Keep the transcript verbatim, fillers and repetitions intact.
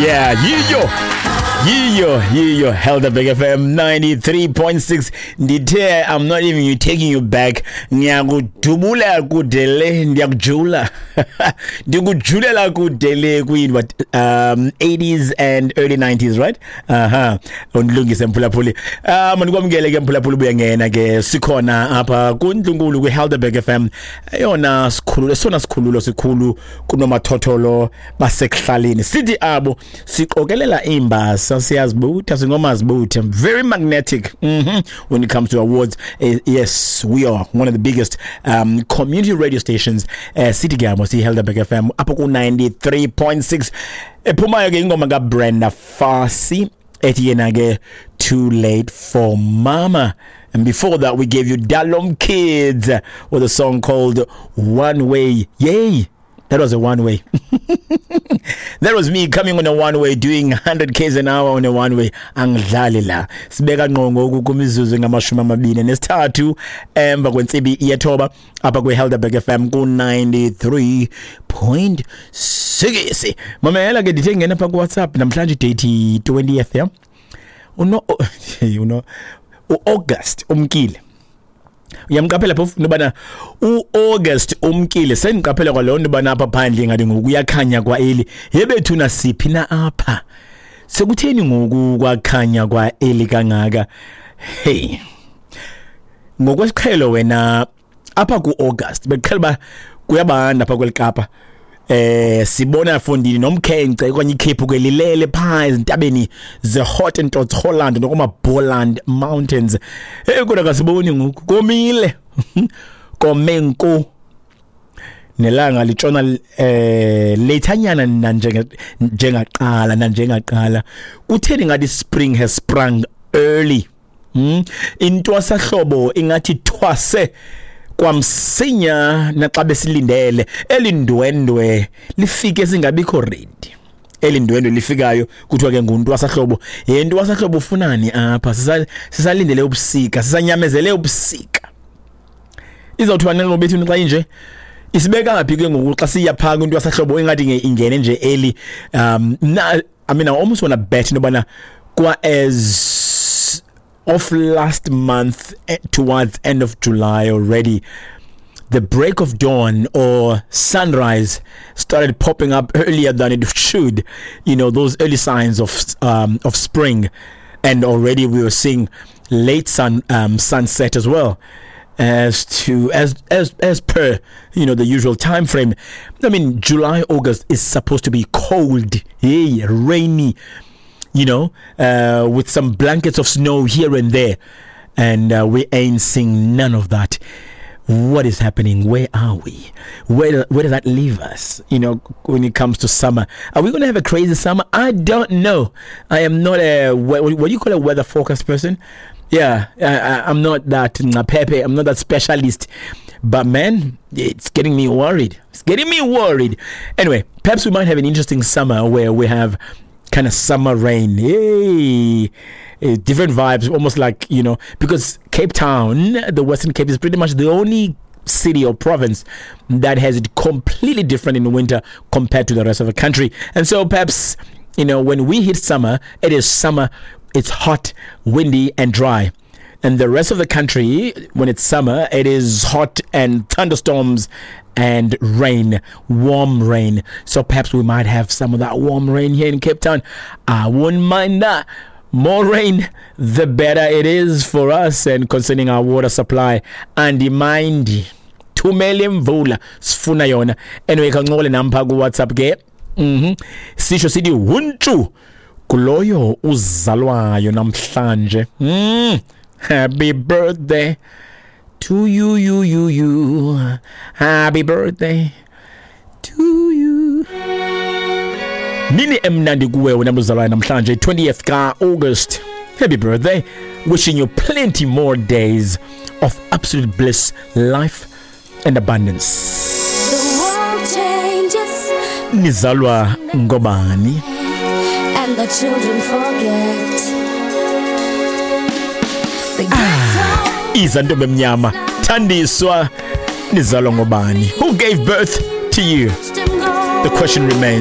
Yeah, yiyo yiyo yiyo Helderberg F M ninety-three point six. Ndithe I'm not even you taking you back, ngiyakudubula kude le, ndiyakujula, ndikujulela kude le kwi what, um eighties and early nineties, right? Aha, undilungise mphulaphuli. um ndikwamkele ke mphulaphuli, buya ngena ke, sikhona apha kundlunkulu kwi Helderberg F M, eyona sikhululo, esona sikhululo sikhulu kunomathotholo basekuhlaleni. Sithi abo siqokelela imbasa, siyazibutha, singomazibutha, very magnetic mm -hmm. when it comes to awards. uh, yes we are one of the biggest um, community radio stations. uh, sithi ke abo siyi-Helderberg F M apho ku ninety-three point six. Ephumayo ke ingoma kaBrenda Fassie ethi yena ke "Too Late for Mama", and before that we gave you Dalom Kids with a song called "One Way". Yay, that was a one way. That was me coming on a one way, doing one hundred k's an hour on a one way. Angidlali la. Sibeka ngqo ngoku kumizuzu ngamashumi amabini nesithathu emva kwentsimbi yethoba apha kwi Helderberg F M ku ninety-three point six. Mamela ke, ndithe ngena pha ku WhatsApp namhlanje, date twentieth, yeah. Uno uno uAugust umkile. Uyamqaphela phofu nobana uAugust umkile, sendiqaphela kwaloo nto bana apha phandle ngathi ngoku kuyakhanya kwa-early. Yebethuna, siphi na apha? Sekutheni ngoku kwakhanya kwa-early kangaka? Hey, ngokwesiqhelo wena apha ku-August bekuqhela uba kuyabanda apha kweli Kapa. eh sibona fondini nomkhenkce okanye ikhephu ke lilele phaa ezintabeni ze-Hottentots Holland nokuma-Boland Mountains. Hey, kodwa kasiboni ngoku, komile, kome nko, nelanga litshona eh lethanyana nanjenge njengaqala nanjengaqala. Kutheni ngathi spring has sprung early? hmm intwasahlobo ingathi thwase kwamsinya naxa besilindele elindwendwe lifike singabikho ready. Elindwendwe lifikayo kuthiwa ke nguntwasahlobo. Yentwasahlobo ufunani apha? Sisalindele ubusika, sisanyamezele ubusika. Izawuthiwa ngobethu xa inje isibeka ngaphi ke ngoku xa siya phaa kwintwasahlobo ingathi ingene nje early? um na, I mean, I almost want to bet nobana kwa as of last month, eh, towards end of July already, the break of dawn or sunrise started popping up earlier than it should you know those early signs of um, of spring, and already we were seeing late sun um, sunset as well, as to as as as per you know the usual time frame. I mean, July, August is supposed to be cold, hey, rainy, you know uh, with some blankets of snow here and there, and uh, we ain't seeing none of that. What is happening? Where are we? Where where does that leave us you know when it comes to summer? Are we going to have a crazy summer? I don't know. I am not a, what, what do you call, a weather forecast person. Yeah, I, I'm not that pepe, I'm not that specialist, but man, it's getting me worried. It's getting me worried. Anyway, perhaps we might have an interesting summer where we have kind of summer rain. Hey, eh, different vibes, almost like, you know, because Cape Town, the Western Cape, is pretty much the only city or province that has it completely different in the winter compared to the rest of the country. And so perhaps, you know, when we hit summer, it is summer, it's hot, windy, and dry. And the rest of the country, when it's summer, it is hot and thunderstorms and rain, warm rain. So perhaps we might have some of that warm rain here in Cape Town. I wouldn't mind that. More rain, the better it is for us and concerning our water supply. Andimindi. Thumele imvula, sifuna yona. Anyway, kancokole nami pha ku WhatsApp ke. Mhm. Sisho sithi huntshu kuloyo uzalwayo namhlanje. Mm. Happy birthday to you, you, you, you. Happy birthday to you. Mini emnandi kuwe wena mzalwane namhlanje, twentieth ka August. Happy birthday. Wishing you plenty more days of absolute bliss, life and abundance. The world changes Nizalwa ngobani? And the children forget. The ghetto Iza ntombi emnyama. Thandiswa, nizalwa ngobani? Who gave birth to you? them go. The question remains.